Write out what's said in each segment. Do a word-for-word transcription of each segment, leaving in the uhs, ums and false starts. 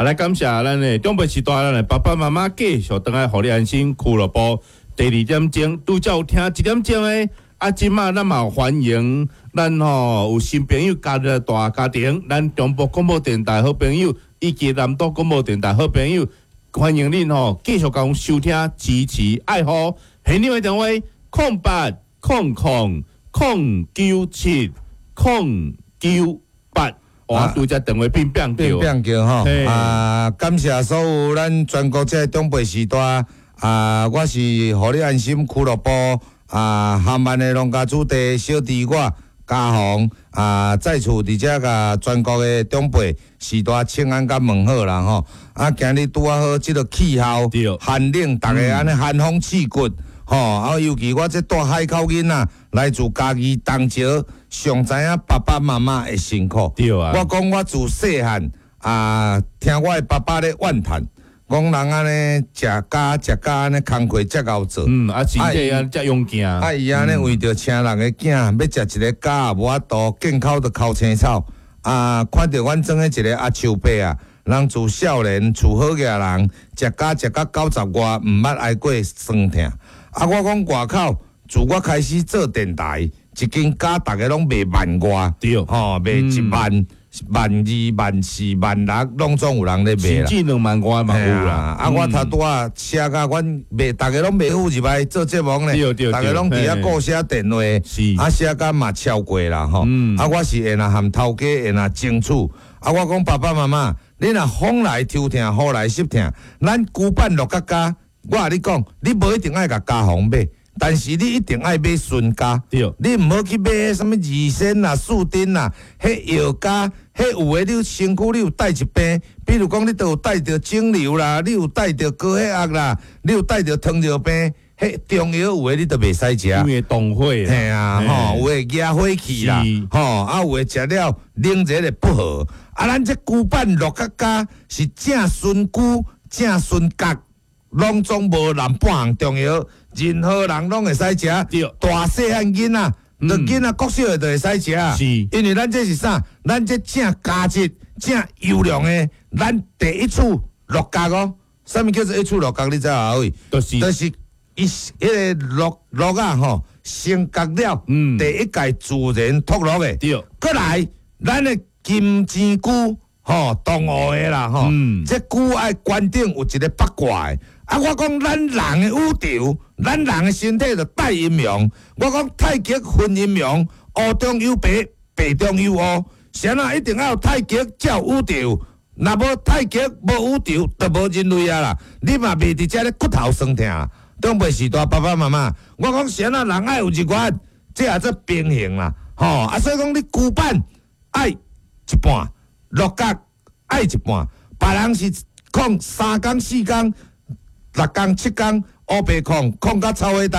啊，來感謝咱的長輩時代，咱的爸爸媽媽繼續轉來予你安心俱樂部第二點鐘，拄才有聽一點鐘的。啊，這馬咱嘛歡迎咱吼有新朋友加入大家庭，咱中部廣播電台好朋友以及南島廣播電台好朋友，歡迎恁吼繼續共收聽支持愛護。現場的電話：空八空空空九七空九八。我拄才電話變變變變叫吼。啊，感謝所有咱全國這長輩時代啊，我是予你安心俱樂部。啊，含萬的農家子弟小弟我嘉宏啊，再次佇遮共全國的長輩時代請安佮問好啦吼。啊，今日拄仔好這个氣候寒冷，逐家按呢寒風刺骨吼。啊，尤其我這蹛海口囡仔來自嘉義東石，上知影爸爸媽媽的辛苦。對啊。我講我自細漢啊，聽我的爸爸咧怨嘆。講人按呢食鹼食鹼按呢工課遮𠢕做，嗯，啊，身體啊遮勇健，啊，伊按呢為著請人的囝，欲食一个鹼也無法度，見口就哭青草。啊，看著阮庄的一个阿秋伯啊，人自少年厝好額人，食鹼食甲九十外，毋捌挨過酸痛。啊，我講外口，自我開始做電台，一斤鹼逐家攏賣萬外，對，吼，賣一萬。萬二、萬四、萬六，攏總有人咧賣啦。甚至兩萬外嘛有啦。啊，我頭拄仔寫甲阮賣，逐家攏袂赴入來做節目呢。逐家攏佇遐顧寫電話，是啊，寫甲嘛超過啦吼。啊，我是會若含頭家會若爭取。啊，我講爸爸媽媽，你若風來抽疼，雨來濕疼，咱龜板鹿角膠，我共你講，你無一定愛共家紅買。但是你一定愛買純鹼，你毋好去買啥物二仙啦、四珍啦，彼藥鹼，彼有的你身軀你有帶一病，比如講你都有帶著腫瘤啦，你有帶著高血壓啦，你有帶著糖尿病，彼中藥有的你都袂使食。因為動火。嘿啊，吼，有的惹火氣啦，吼，啊有的食了冷熱會不和。啊，咱這龜板鹿角膠是正純龜、正純角，攏總無任半項中藥。任何人攏會使食，大細漢囡仔，著囡仔國小的就會使食。是，因為咱這是啥？咱這正佳質、正優良的，咱第一次鹿角哦。啥物叫做一次鹿角？你知無阿偉？就是就是伊彼个鹿鹿仔吼，先割了，第一屆自然脫落的。對，閣來，咱的金錢龜吼，東湖的啦吼，這龜愛懸頂有一个八卦的。啊！我講咱人的宇宙，咱人的身體就帶陰陽。我講太極分陰陽，烏中有白，白中有烏。啥人一定要有太極才有宇宙，若無太極無宇宙，就無人類啊啦！你嘛袂佇遮咧骨頭酸痛。長輩時代爸爸媽媽，我講啥人人愛有日月，這也做平衡啦，吼！啊，所以講你龜板愛一半，鹿角愛一半，別人是控三工四工。六工七工烏白控控甲臭火焦，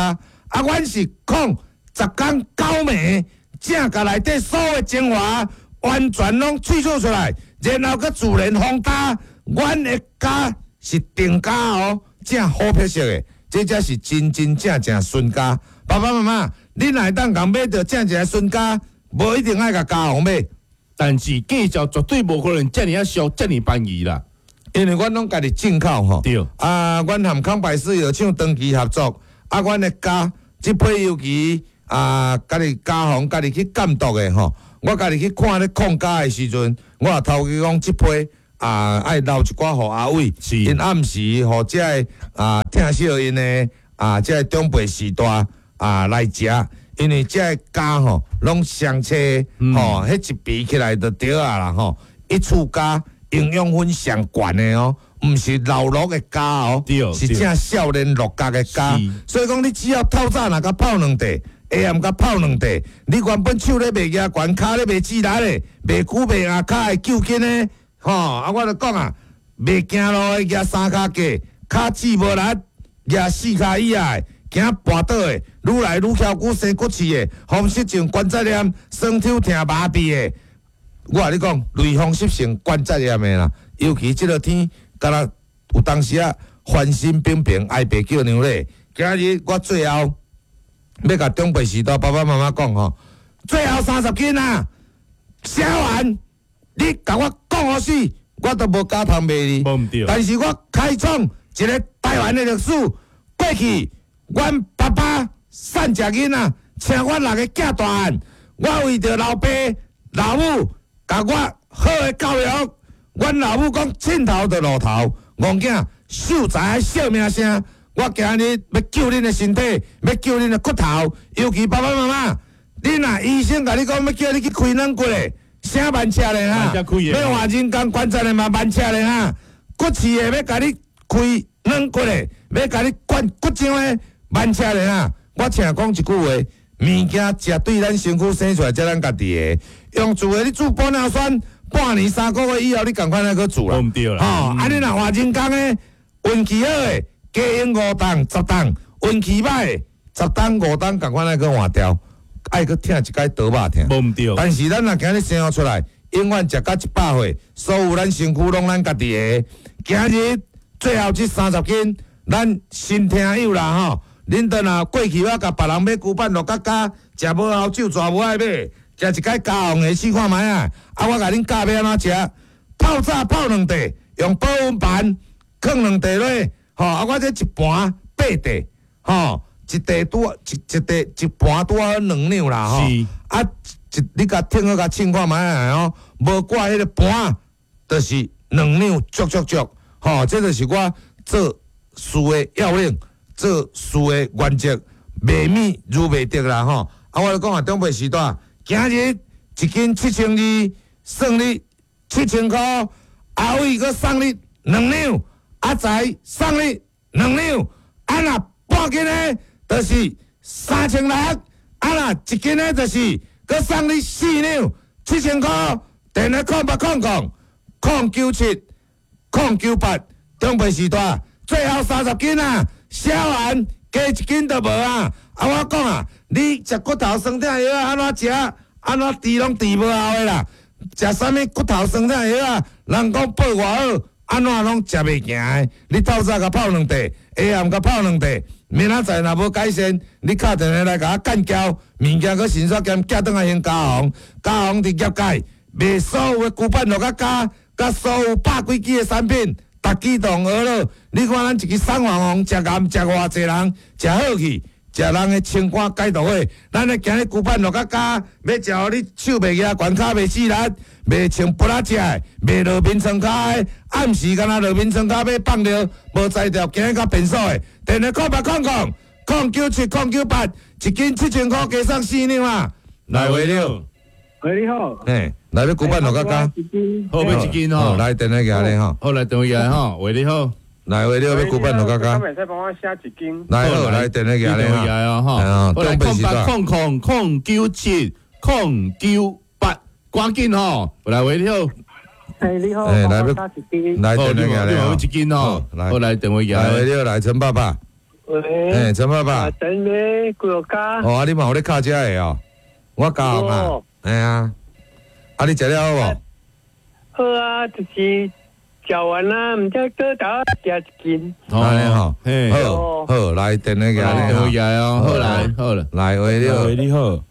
啊，阮是控十工九暝，正共內底所有精華完全攏萃取出來，然後閣自然風焦。阮的鹼是定鹼哦，正好品質的，這才是真真正正純鹼。爸爸媽媽，你若會當共買著正一个純鹼，無一定愛共家紅買，但是價錢絕對無可能遮爾仔俗，遮爾便宜啦。因為阮攏家己進口吼，對啊，阮和康百氏藥廠長期合作，啊，阮的鹼這批尤其啊，家己家紅家己去監督的吼，我家己去看咧控鹼的時陣，我也頭家講這批啊，愛留一寡予阿偉，𪜶暗時予這个啊疼惜𪜶的啊，這个長輩時代啊來食，因為這个鹼吼攏雙切吼，彼一比起來就對啊啦吼，一處鹼。營養分上懸的哦，毋是老鹿的鹼哦，是正少年鹿角的鹼。所以講，你只要透早若共泡兩塊，下暗共泡兩塊，你原本手咧袂舉懸，跤咧袂誌力的，袂久袂硬，跤會揪筋的，吼啊！我就講啊，袂行路的舉三跤架，跤趾無力，舉四跤以下的，驚跋倒的，愈來愈翹骨生骨刺的，風濕性關節炎、酸抽疼麻痹的。我共你講，類風濕性關節炎的啦，尤其這个天，敢若有當時啊，翻身平平，哀爸叫娘咧。今日我最後欲共長輩時代爸爸媽媽講吼，最後三十斤啊，寫完，你共我講予死，我都無咬頭罵你。無毋對。但是我開創一個台灣的歷史，過去阮爸爸散食囡仔，請阮六个囝大漢，我為著老爸老母共我好的教育，阮老母講凊頭就露頭，戇囝秀才愛惜名聲。我今日欲救恁的身體，欲救恁的骨頭，尤其爸爸媽媽，恁若醫生共你講欲叫你去開軟骨的，啥慢車咧哈？欲換人工關節的嘛慢車咧哈？骨刺的欲共你開軟骨的，欲共你灌骨漿的慢車咧哈？我請講一句話，物件食對咱身軀生出來才咱家己的，用注的你注玻尿酸，半年三個月以後你仝款愛閣注啦。毋對啦。吼，啊你若換人工的，運氣好的，加用五檔十檔，運氣䆀的十檔五檔仝款愛閣換掉，愛閣疼一擺刀肉疼。無毋對。但是咱若今日生出來，永遠食到一百歲，所有咱身軀攏咱家己的。今日最後這三十斤，咱新聽友啦吼，恁等若過去我共別人買龜板鹿角膠，食無效酒蛇無愛買，食一擺加紅的試看覓啊！啊，我共恁教欲按怎食，泡早泡兩塊，用保溫盤囥兩塊落，吼啊！我這一盤八塊，吼，一塊拄一一塊一盤拄好兩兩啦，吼。啊，一你共稱好共稱看覓啊？吼，無掛彼個盤，就是兩兩足足足，吼，這就是我做事的要領，做事的原則，袂物如袂得啦，吼。啊，我咧講啊，長輩時代，今日一斤七千二，算你七千箍，阿偉閣送你兩兩，阿財送你兩兩，啊若半斤的，就是三千六，啊若一斤的，就是閣送你四兩，七千箍。電話空八空空空九七空九八，長輩時代最後三十斤啊，銷完加一斤就無啊！啊，我講啊，你食骨頭酸痛藥啊，按怎食？按怎治攏治無效的啦！食啥物骨頭酸痛藥啊？人講報偌好，按怎攏食袂行的？你透早共泡兩塊，下暗共泡兩塊，明仔載若無改善，你敲電話來共我幹譙，物件閣迅速兼寄轉來興嘉宏，嘉宏佇業界賣所有的龜板鹿角膠，佮所有百幾支的產品，逐支都用學了。你看咱一支送黃黃，食癌食偌濟人，食好去，食人的清肝解毒火。咱的今日龜板鹿角膠，欲食予你手袂舉，懸跤袂死力，袂穿布仔食的，袂落眠床跤的，暗時敢若落眠床跤欲放尿，無才調，今日較便所的，電話空八空空空九七空九八，一斤七千箍，加送四兩啊！來話了，喂，你好。嘿，來欲龜板鹿角膠，好欲一斤吼，來電話寄來吼，好來電話寄來吼，喂你好，來話了欲龜板鹿角膠，會使幫我寫一斤。來好來電話寄來吼，好來空八空空空九七空九八，趕緊吼，來喂你好。哎，你好，來欲來電話寄來吼，一斤吼，好來電話寄來，來喂你好，來陳爸爸。喂，哎，陳爸爸。等你幾個家？哦，啊，你嘛有咧敲這个哦，我教啊，嘿啊，啊，你食了好無？好啊，就是食完啦，毋知倒頭食一斤。按呢吼，好，好，來電話寄來，電話寄來哦，好來，好了，來喂你好，喂你好，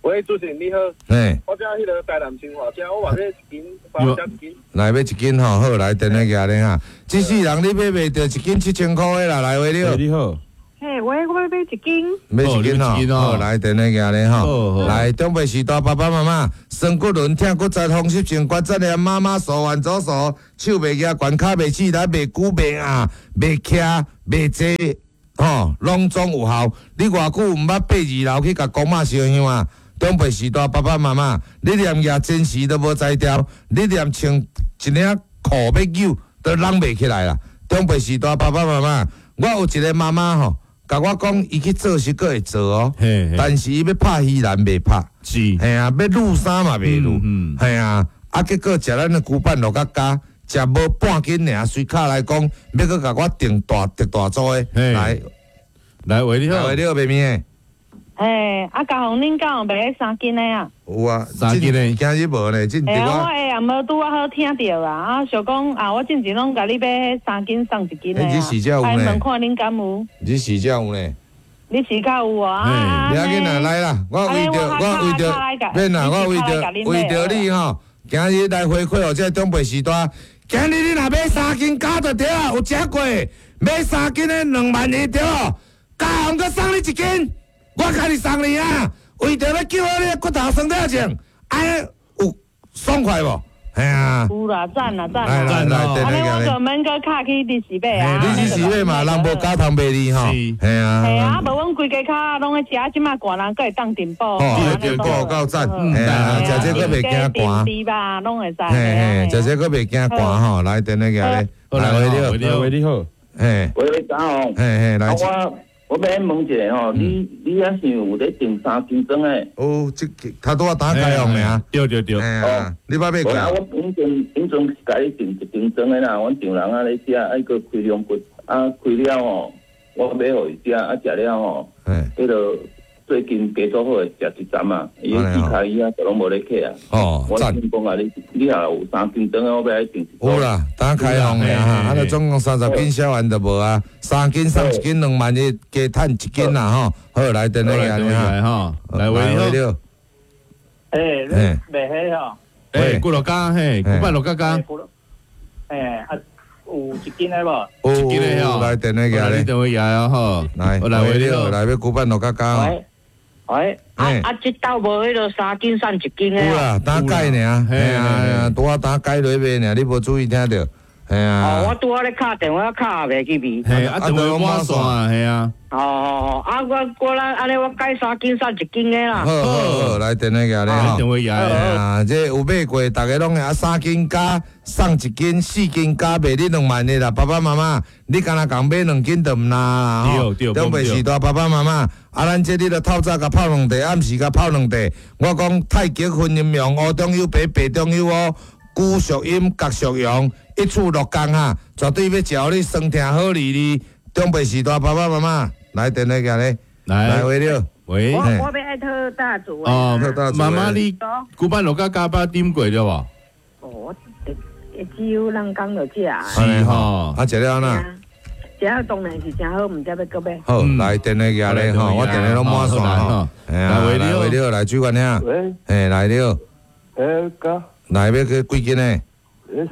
喂，主持人你好，嘿，我遮彼個台南新華遮，我嘛欲一斤，幫我食一斤。來欲一斤吼，好，來電話寄來哈。這世人你買袂著一斤七千箍的啦，來喂你好，你好。嘿，喂，我欲買一斤。買一斤吼，好，來電話寄來吼，來長輩時代爸爸媽媽，酸骨輪、疼骨節、風濕性關節炎，媽媽手腕左手，手袂舉，懸跤袂起來，袂久袂硬，袂徛，袂坐，吼，攏總有效。你偌久毋捌爬二樓去共公媽燒香啊？長輩時代爸爸媽媽，你連舉前時都無才調，你連穿一領褲欲扭都攏袂起來啦。長輩時代爸爸媽媽，我有一個媽媽吼。共我講，伊去做是閣會做哦，但是伊欲拍魚籃袂拍，是，嘿啊，欲擼衫嘛袂擼，嘿啊，啊結果食咱的龜板鹿角膠，食無半斤爾，隨口來講，欲閣共我訂大特大組的，來，來喂你好，喂你好，賣麵的，嘿，啊，嘉宏，恁敢有賣三斤的啊？有啊，三斤的，今日無呢，進嘿啊，我下暗無拄仔好聽著啊，啊，想講啊，我進前攏共你買三斤送一斤的啊，你試才有呢？問看恁敢有？你試才有呢？你試較有啊？不要緊啦，來啦，我為著我為著，免啦，我為著為著你吼，今日來回饋予這長輩時代，今日你若買三斤鉸就對啊，有食過，買三斤的兩萬一對無？加紅閣送你一斤，我家己送你啊！為著欲救好你的骨頭酸痛症，按呢有爽快無？嘿啊！有啦，讚啦讚來啦。來來，按呢我電就免閣敲去二四買啊。二四買嘛，人無鉸通賣你吼。是嘿啊。嘿啊，無阮規家跤攏咧食，這馬寒人閣會當燉補。哦，燉補夠讚，嘿啊，食這閣袂驚寒。豬吧，攏會使。嘿嘿，食這閣袂驚寒吼，來電話過來，來喂你好，喂你好，嘿，喂，早紅，嘿嘿，來。我我欲問一下吼，你你遐是有咧訂三斤裝的？有，這他拄仔打開放爾。對對對。啊，你捌買過？啊，我以前以前是共你訂一斤裝的啦，阮丈人啊咧食，愛閣開龍骨，啊開了吼，我買予伊食，啊食了吼，彼个最近加做好的食一針啊，伊的指跤椅啊，就攏無咧起啊。哦，我想講啊，你你若有三斤裝的，我欲愛訂一有啦，打開放的哈，啊，就總共三十斤銷完就無啊，三斤送一斤兩萬一，加趁一斤啦吼。好，來電話來吼，來喂你好。欸，你賣彼吼？欸，骨碌角嘿，古板鹿角角。欸，啊，有一斤的無？有一斤的吼，來電話來，你電話來啊吼，來，來喂你好，來欲古板鹿角角。喂，喂，啊啊，這兜無彼落三斤送一斤的。有啦，打改爾，嘿啊，拄仔打改落賣爾，你無注意聽著，嘿啊。哦，我拄仔咧敲電話，敲也袂去味。嘿，啊，電話滿線啊，嘿啊。哦哦哦，啊，我我咱按呢，我改三斤送一斤的啦。好好好，來電話過來吼。電話過來。啊，這有買過，逐家攏會啊，三斤加送一斤，四斤加賣你兩萬的啦。爸爸媽媽，你敢若共買兩斤就毋若啦吼。對對，中袂時大爸爸媽媽，啊，咱這你著透早共泡兩塊，暗時共泡兩塊。我講太極分陰陽，烏中有白，白中有烏，古屬陰，角屬陽，一處六工哈，絕對欲食予你酸痛好利利。中袂時大爸爸媽媽。來電話過來，來喂你好，喂，我我欲愛討大廚哦，媽媽你古板鹿角加捌點過對無？哦，我只有人講就食。是吼，啊，食了按怎？食了當然是誠好，毋知欲閣欲。好，來電話過來吼，我電話攏滿線吼。來喂你好，你好，來水源兄。喂。嘿，來你好。欸，哥。來欲去幾斤的？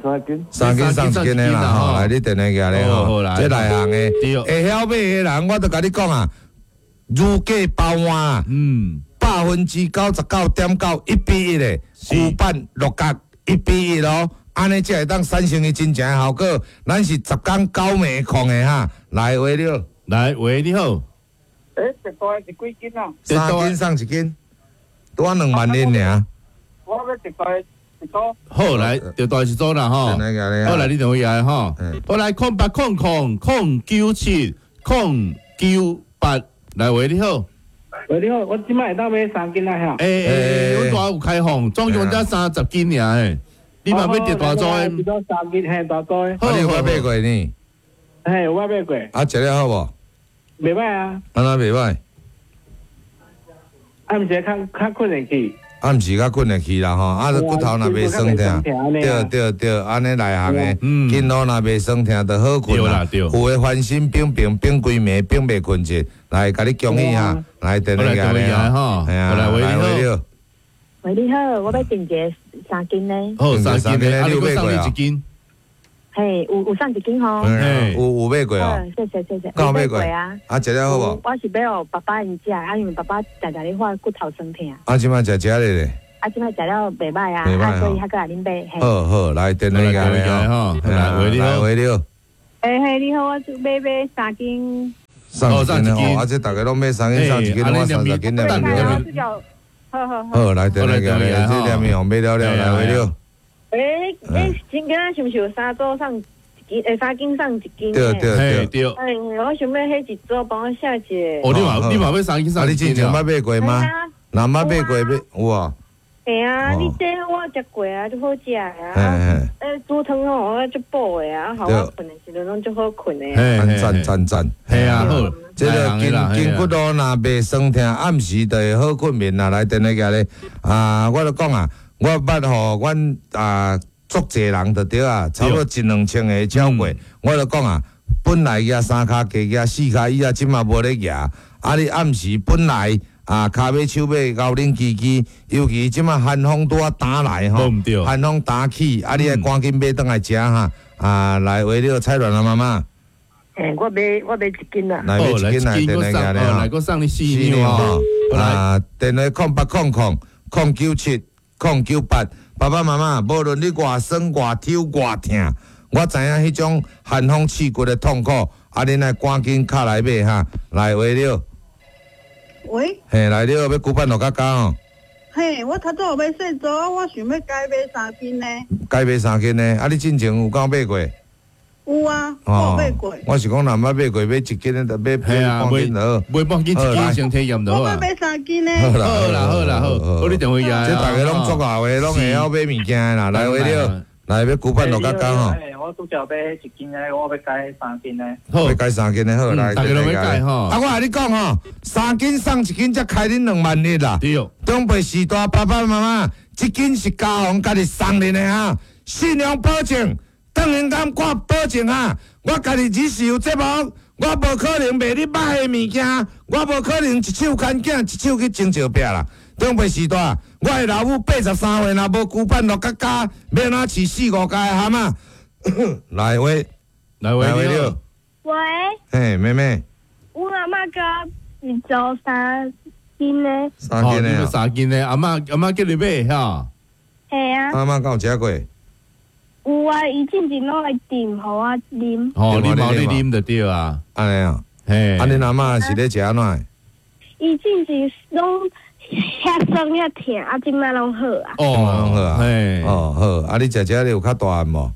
三斤，三斤送一斤的啦吼，來你電話過來吼，這內行的，會曉買的人，我就共你講啊，如假包換，嗯，百分之九十九點九一比一的，古板鹿角一比一咯，按呢才會當產生伊真正的效果。咱是十工九暝控的哈，來喂你好，來喂你好，欸，一袋是幾斤啊？三斤送一斤，拄仔兩萬一爾。我欲一袋。好來，就大一組啦吼。好來，你電話來吼。好來，空八空空空九七空九八，來喂你好。喂你好，我這擺會當買三斤啊遐。欸欸，阮大有開放，總共才三十斤爾欸。你嘛欲佇大組的？三斤嘿，大組的。啊，你有捌買過呢？嘿，有捌買過。啊，食了好無？袂䆀啊。按怎袂䆀？啊，毋是較較睏會去。暗時較睏會去啦吼，啊，骨頭若袂酸痛，對對對，按呢內行的，筋路若袂酸痛就好睏啦。有的翻身反病反規暝反袂睏著，來共你恭喜哈，來電話來吼，來喂你好，喂你好，我欲訂一个三斤的。好，三斤的，啊，你閣送你一斤。嘿，有有送一斤吼。有有買過哦。謝謝謝謝。敢有買過啊？啊，食了好無？我是欲予爸爸𪜶食，啊，因為爸爸常常咧發骨頭酸痛。啊，這擺食食咧咧。啊，這擺食了袂䆀啊，啊，所以還閣來恁買。好好，來電話來吼，來喂你好，喂你好。欸嘿，你好，我欲買三斤。送一斤哦，啊，這逐家攏買三斤送一斤，我三十斤了。好好好。好，來電話來，這兩面買了了，來喂你好。欸欸，今仔是毋是有三組送一斤？欸，三斤送一斤。對對對對。欸，我想欲彼一組幫我寫一個。哦，你嘛你嘛欲三斤送啊，你之前捌買過嗎？若捌買過欲有啊？嘿啊，你這我食過啊，足好食啊。欸，煮湯吼，我足補的啊，予我睏的時陣攏足好睏的。讚讚讚。嘿啊，好。這个筋筋骨路若袂酸痛，暗時就會好睏眠啦。來電話過來，啊，我就講啊，我捌予阮啊。足濟人就對啊，差不多一兩千个超過。我就講啊，本來舉三跤，加舉四跤，伊啊這馬無咧舉。啊，你暗時本來啊，跤尾手尾𠢕冷吱吱，尤其這馬寒風拄仔打來吼，寒風打起，啊，你愛趕緊買轉來食哈，啊，來為了蔡亂啊媽媽。欸，我買我買一斤啦。來買一斤來，電話來，來閣送你四兩吼。啊，電話空八空空空九七空九八，爸爸媽媽，無論你偌酸偌抽偌疼，我知影彼種寒風刺骨的痛苦，啊，恁愛趕緊敲來買哈，來為了。喂，嘿，來了，欲龜板落較加哦。嘿，我頭拄有買細組，我想欲改買三斤呢。改買三斤呢？啊，你進前有敢買過？有啊，我有買過。我是講，若毋捌買過，買一斤的，買買半斤就好。買半斤一斤先體驗就好啊。我欲買三斤呢。好啦，好啦，好啦，好。好，你電話來。這大家攏足𠢕的，攏會曉買物件的啦。來，為了來欲龜板落較加吼。我拄則買一斤的，我欲改三斤的。欲改三斤的好，來。大家攏欲改吼。啊，我共你講吼，三斤送一斤，才開恁兩萬一啦。對。長輩時代爸爸媽媽，這斤是家紅家己送恁的哈，信用保證，當然敢掛保證啊！我家己只是有節目，我無可能賣你歹的物件，我無可能一手牽囝，一手去爭石壁啦。長輩時代，我的老母八十三歲，若無龜板落較加，欲按怎飼四五家的蛤蟆？來喂，來喂，你好。喂。嘿，妹妹。我阿嬤叫一組三斤的。三斤的。三斤的，阿嬤阿嬤叫你買哈。嘿啊。阿嬤敢有食過？有啊，伊進前攏會訂予我啉。哦，你無你啉就對啊。按呢啊。嘿。啊，恁阿嬤是咧食按怎？伊進前攏遐酸遐疼，啊，這擺攏好啊。哦，攏好啊。嘿。哦，好。啊，你食食你有較大漢無？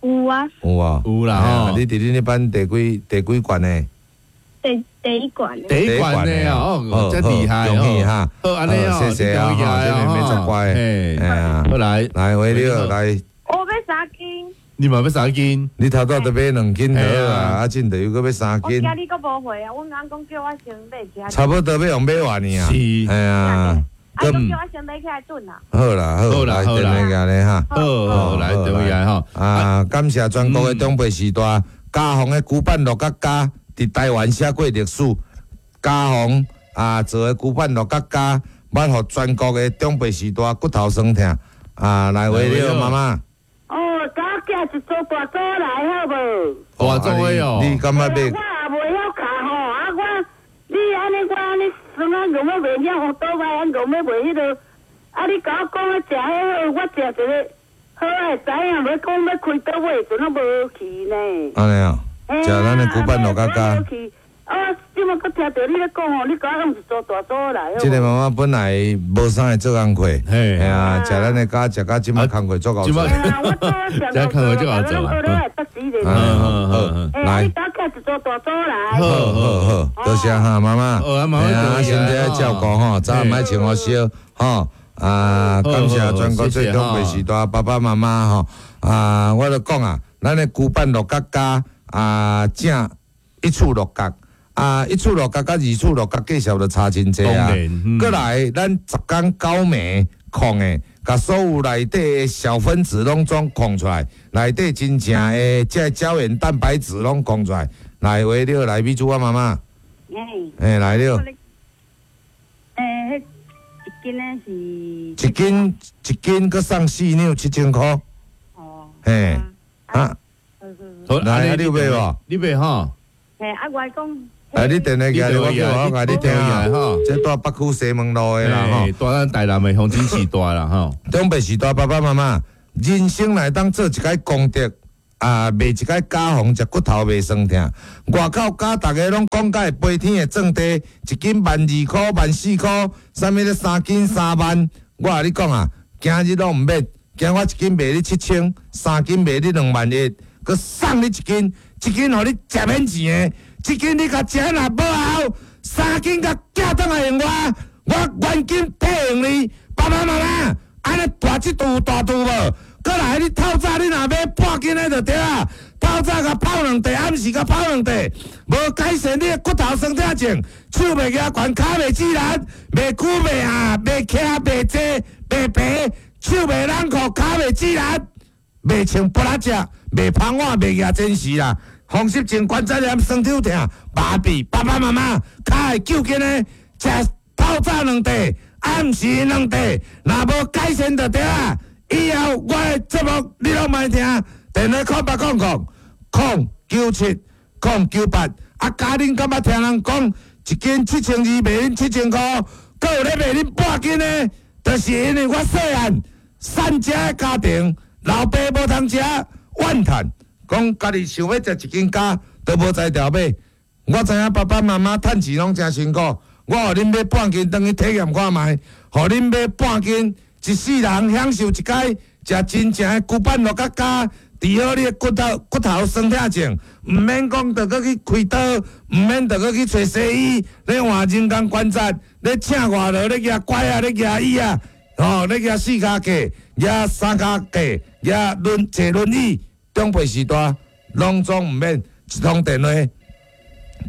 有啊。有啊。有啦。你佇恁彼班第幾第幾冠的？第第一冠。第一冠的哦，真厲害恭喜哈！好，按呢哦，謝謝啊，這妹妹足乖。嘿，好來，來，回了來。我欲三斤。你嘛欲三斤？你頭拄都買兩斤好啊，啊，這陣又閣欲三斤。我今日閣無回啊，阮翁講叫我先買起來。差不多欲予買完呢啊。是。嘿啊。啊，講叫我先買起來燉啊。好啦，好啦，好啦，電話咧哈。好，好，來電話來吼。啊，感謝全國的長輩時代，家紅的龜板落甲加，佇台灣寫過歷史。家紅啊，做的龜板落甲加，捌予全國的長輩時代骨頭酸疼。啊，來話了，媽媽。哦，佮我寄一組大組來好無？大組的哦。你感覺欲？我也袂曉敲吼，啊我，你按呢我按呢酸啊，硬欲袂曉，倒擺按硬欲袂彼落。啊你共我講咧食彼好，我食一个好的知影，欲講欲開刀尾時陣攏無去呢。按呢哦，食咱的龜板落較加。啊！這擺閣聽著你咧講吼，你共我用一組大組來。這个媽媽本來無啥會做工課，嘿啊，食咱的家，食到這擺工課足𠢕做。啊，我做食工課足𠢕做啊。嗯好，來。你共我寄一組大組來。好好好，多謝哈，媽媽。好啊，媽媽。身體愛照顧吼，早暗莫穿予燒吼。啊，感謝全國最長輩時代爸爸媽媽吼。啊，我就講啊，咱的龜板落較加啊，正一處落角。啊，一處落角佮二處落角價數就差真濟啊！閣來，咱十工九暝控的，共所有內底的小分子攏總控出來，內底真正的這個膠原蛋白質攏控出來。來，話了，來，美珠啊媽媽。欸，來了。欸，一斤的是。一斤一斤，閣送四兩七千箍。哦。嘿，啊。來，你有買無？你買吼？嘿，啊，我講。哎，你電話寄來，我叫我共你聽下。這蹛北區西門路的啦吼，蹛咱台南的鄉親時代啦吼。長輩時代爸爸媽媽，人生來當做一擺功德啊，賣一擺家防，食骨頭袂酸疼。外口教逐家攏講甲會飛天的鑽地，一斤萬二箍、萬四箍，啥物咧三斤三萬。我共你講啊，今日攏毋免，今我一斤賣你七千，三斤賣你兩萬一，閣送你一斤，一斤予你食免錢的。一斤你共食若無效，三斤共寄轉來還我，我原金退還你。爸爸媽媽，按呢大這櫥有大櫥無？閣來你透早你若買半斤的就對啊，透早共泡兩塊，暗時共泡兩塊，無改善你的骨頭酸痛症，手袂舉懸，跤袂自然，袂久袂下，袂徛袂坐袂爬，手袂冷酷，跤袂自然，袂穿布拉食，袂芳碗，袂举真時啦。風濕症、關節炎、酸痛疼、麻痹，爸爸媽媽，跤會糾筋的，食透透早两块，暗时两块，若无改善就对啊。以后我的节目你拢莫听，电话空八空空空九七空九八。啊，家恁敢捌听人讲一斤七千二卖恁七千箍，阁有咧卖恁半斤的，就是因为我细汉散食的家庭，老爸无通食，怨叹讲家己想欲食一斤胶，都无才调买。我知影爸爸妈妈趁钱拢诚辛苦，我予恁买半斤，转去体验看觅，予恁买半斤，一世人享受一摆食真正的龟板鹿角胶，治好你的骨头骨头酸痛症，毋免讲著阁去开刀，毋免著阁去揣西医，咧换人工关节，咧请外劳，咧举拐仔，咧举椅仔，吼，咧举四跤架，举三跤架，举轮坐轮椅，长辈时代拢总毋免一通电话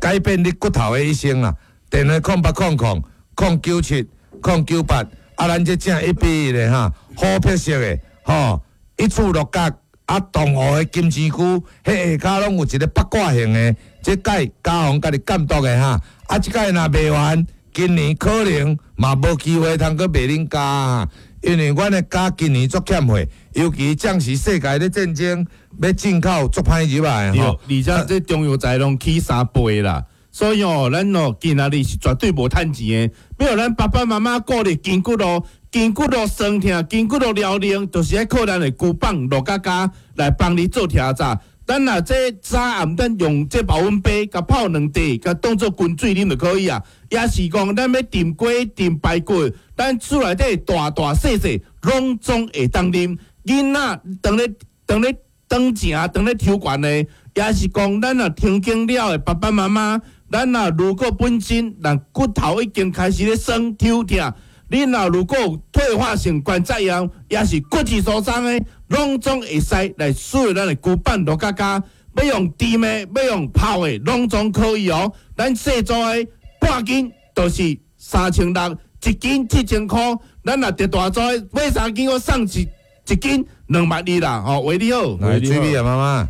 改变你骨头的一生啦。电话空八空空空九七空九八，啊，咱这正一比一的哈，虎皮色的吼，一处鹿角。啊，东湖的金钱龟，彼下跤拢有一个八卦形的，这届家宏家己监督的哈。啊，这届若卖完，今年可能嘛无机会通阁卖恁胶，因为阮的胶今年足欠货，尤其这时世界咧战争，欲进口足歹入来吼。而且这中药材拢起三倍啦，所以哦，咱哦今仔日是绝对无趁钱的，欲予咱爸爸妈妈顾虑筋骨咯。筋骨路酸痛，筋骨路疗灵，就是爱靠咱的龟板鹿角胶来帮你做调查。咱若这早暗咱用这保温杯，共泡两块，共当做滚水啉就可以啊。也是讲咱欲炖鸡、炖排骨，咱厝内底大大细细拢总会当啉。囡仔当咧当咧长成，当咧抽悬的，也是讲咱若停经了的爸爸妈妈，咱若如果本身咱骨头已经开始咧酸抽痛。你若如果有退化性关节炎，也是骨质疏松的，拢总会使来使用咱的龟板鹿角胶，欲用甜的，欲用泡的，拢总可以哦。咱细组的半斤就是三千六，一斤七千箍。咱若伫大组的买三斤，我送一一斤两万二啦。吼，喂，你好，来，水美啊妈妈，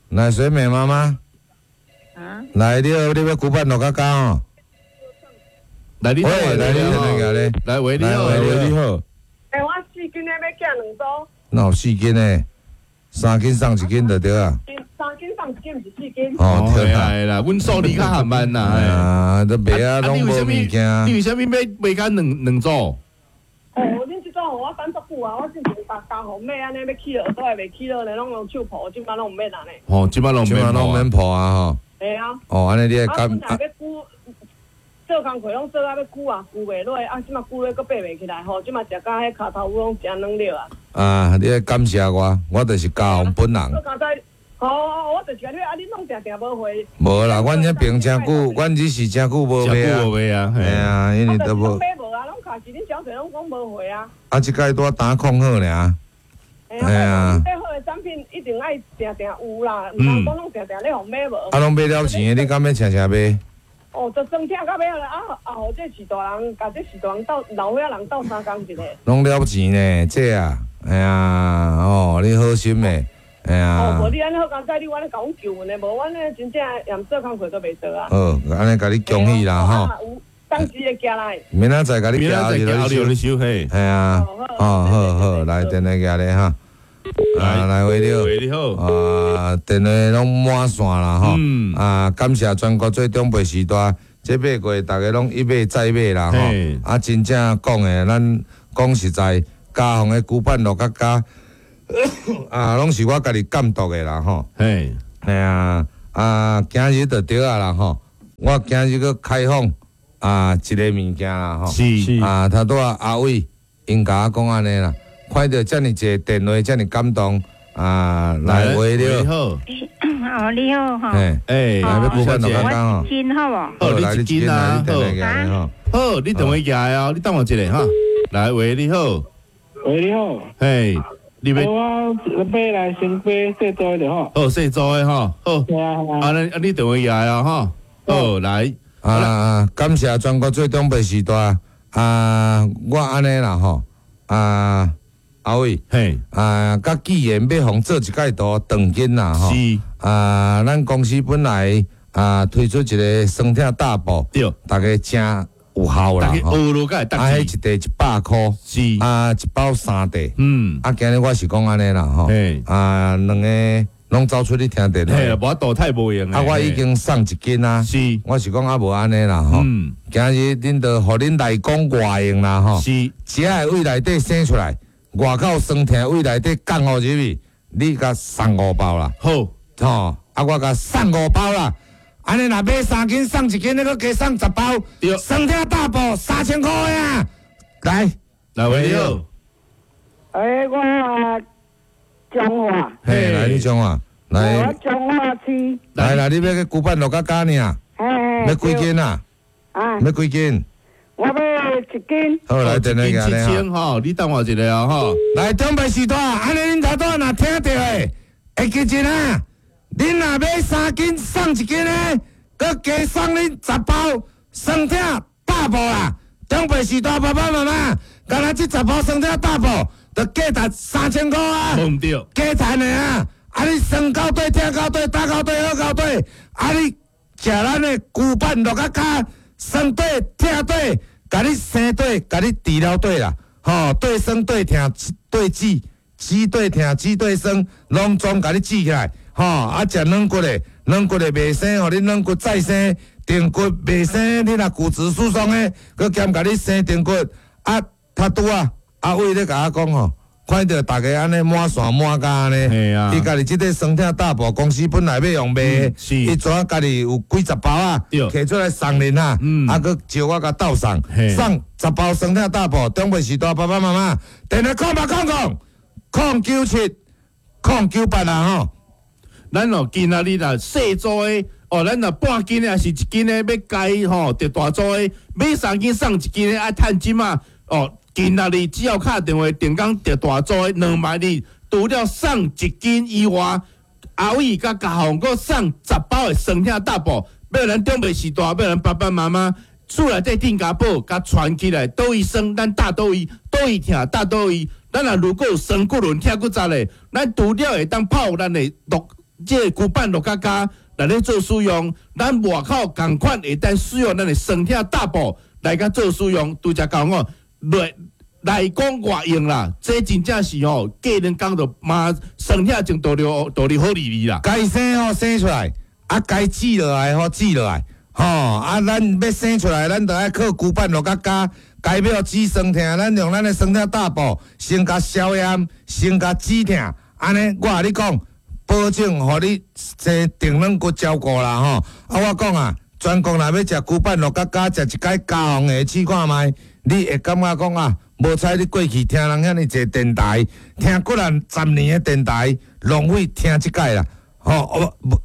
来水美妈妈，来，你好，你欲龟板鹿角胶哦。来，你好，来，你好，来，喂，你好，喂，你好。欸，我四斤的欲寄两组。哪有四斤的？三斤送一斤就对啊。三斤送一斤，毋是四斤。哦，对啦，阮数字较含慢啦。啊，都卖啊，拢无物件。你为啥物欲卖甲两两组？哦，恁这组予我等足久啊！我之前逐工予买按呢，欲起落都会袂起落呢，拢用手抱，这摆拢毋免啊呢。哦，这摆拢这摆拢免抱啊吼。会啊。哦，按呢你会感。做工课拢做啊，欲久啊，久袂落，啊，这马久咧，阁爬袂起来吼，这马食甲彼跤头母拢诚软了啊！啊，你爱感谢我，我就是家宏本人。我刚才，哦，我就是共你啊，你拢定定无回。无啦，阮遐边诚久，阮只是诚久无卖啊。无卖啊，嘿啊，因为都无。买无啊，拢卡是恁小姐拢讲无回啊。啊，这届拄打控好尔。嘿啊，买好的产品一定爱定定有啦，毋通讲拢定定咧予买无。啊，拢买了钱的，你敢欲诚诚买？哦，就酸痛到尾啦！啊啊，予这序大人，共这序大人斗老岁仔人斗相共一下。拢了钱呢，这啊，哎呀，哦，你好心的，哎呀。哦，无你按呢好佳哉，你按呢共阮救阮的，无阮呢真正连做工课都袂做啊。好，按呢共你恭喜啦，吼。有当时会寄来。明仔载共你寄来，你收嘿。嘿啊，哦，好好，来电话寄来哈。啊，来喂你好，喂你好，啊，电话拢满线啦吼，啊，感谢全国做长辈时代，这买过逐家拢一买再买啦吼，啊，真正讲的，咱讲实在，家宏的龟板鹿角胶，啊，拢是我家己监督的啦吼，嘿，嘿啊，啊，今日就对啊啦吼，我今日阁开放啊一个物件啦吼，是，啊，头拄仔阿伟𪜶共我讲按呢啦。看著遮尔济电话，遮尔感动啊！来，喂，你好，哦，你好吼，哎，来欲龟板鹿角胶吼，一斤好无？好，你一斤啊，好，好，你电话寄来哦，你等我一下哈。来，喂，你好，喂，你好，嘿，你欲我欲来先买细组的吼，好，细组的吼，好，啊，你啊，你电话寄来哦，吼，好，来，啊，感谢全国做长辈时代啊，我按呢啦吼，啊。阿伟，嘿，啊，佮既然欲予做一届图长斤啦，吼，是啊，咱公司本来啊推出一个酸痛大补，对，逐家诚有效啦。逐家學落才會啊，彼一塊一百箍，是啊，一包三塊。嗯，啊，今日我是講按呢啦吼，啊，兩个攏走出去聽電嘿，話。無法度太無閒。啊，我已經送一斤啊，是，我是講啊無按呢啦吼。嗯，今日恁就予恁內講外用啦吼。是，食的位內底生出來，外口酸疼位內底降予入去，你共送五包啦。好，吼，啊，我共送五包啦。按呢若買三斤送一斤，你閣加送十包。對，酸疼大補三千箍啊！來，來喂你好。欸，我彰化。嘿，來你彰化，來。我彰化市。來啦，你欲去龜板樂仔加爾？嘿。欲幾斤啊？啊。欲幾斤？我欲一斤。好，來電話一斤七千吼，你等我一下啊吼。來，長輩時代，按呢恁頭拄若聽著的，會記一啊？恁若買三斤送一斤的，閣加送恁十包酸疼大補啦！長輩時代爸爸媽媽，干焦這十包酸疼大補，就價值三千箍啊！無毋對，加趁的啊！啊，你酸到底、疼到底、焦到底、好到底，啊，你食咱的龜板樂仔加酸底、疼底，共你生底、共你治療底啦！吼，對酸對疼對止，止對疼止對酸，攏總共你治起來。吼，啊，食軟骨的，軟骨的袂生，予你軟骨再生，定骨袂生，你若骨質疏鬆的，閣兼共你生定骨。啊，較拄啊，阿偉咧共我講吼，看著逐家按呢滿線滿甲按呢，啊伊家己這塊酸疼大補公司本來欲用賣，伊怎家己有幾十包啊，提出來送恁啊，啊，閣招我共鬥送，送十包酸疼大補，長輩時代爸爸媽媽，電話空八空空空九七空九八啊吼。咱哦，今仔日啦，細組的哦，咱若半斤的抑是一斤的，欲加吼，特大組的買三斤送一斤的，愛趁錢嘛哦。今仔日只要敲電話定工特大組的兩萬二，除了送一斤以外，阿偉佮嘉宏閣送十包的酸疼大補，欲咱長輩時代，欲咱爸爸媽媽厝內底鎮家寶，共傳起來，佗位酸，咱貼佗位，佗位疼，貼佗位。咱若如果有酸骨輪疼骨折的，咱除了會當泡咱的樂。這個龜板樂仔加來咧做使用，咱外口仝款會當使用咱的酸疼大補來共做使用，拄才講哦，來來講外用啦，這真正是吼，過兩工就嘛酸疼就倒流倒流好利利啦。該生吼生出來，啊該治落來吼治落來，吼啊咱欲生出來，咱就愛靠龜板樂仔加。該欲止酸疼，咱用咱的酸疼大補，先共消炎，先共止疼，按呢我共你講。保證予你生定軟骨照顧啦吼！啊，我講啊，全國若欲食龜板樂仔加食一擺加紅的試看覓，你會感覺講啊，無彩你過去聽人遐爾濟電台，聽幾若十年的電台，浪費聽這擺啦，吼，無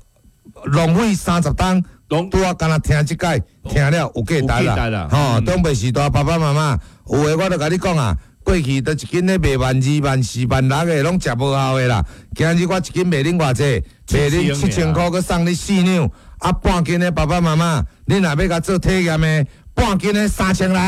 浪費三十冬，拄仔干焦聽這擺，聽了有價值啦，吼，長輩時代爸爸媽媽有的我就共你講啊。過去都一斤咧賣萬二萬四萬六的，攏食無效的啦。今日我一斤賣恁偌濟？賣恁七千箍，閣送你四兩。啊，半斤的爸爸媽媽，恁若欲共做體驗的，半斤的三千六。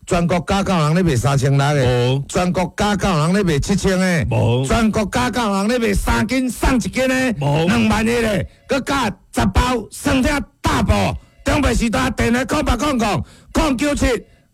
全國家教人咧賣三千六的，全國家教人咧賣七千的，全國家教人咧賣三斤送一斤的，兩萬一的，閣加十包酸疼大補。長輩時代電話空八空空空九七。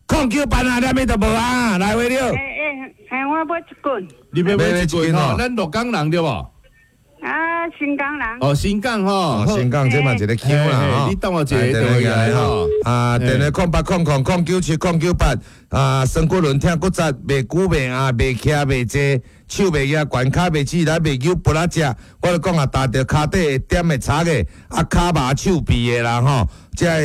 空九八啊，連咪都無啊，來位了。欸欸欸，我買一斤。你欲買一斤吼？咱鹿港人對無？啊，新港人。哦，新港吼。新港這嘛一个腔啦，你等我一下電話來吼。啊，電話空八空空空九七空九八啊，酸骨輪疼骨折，袂久袂壓，袂徛袂坐，手袂舉，懸跤袂起來，袂扭不拉食。我就講啊，踏著跤底會點會擦的，啊，跤麻手臂的啦吼，這个。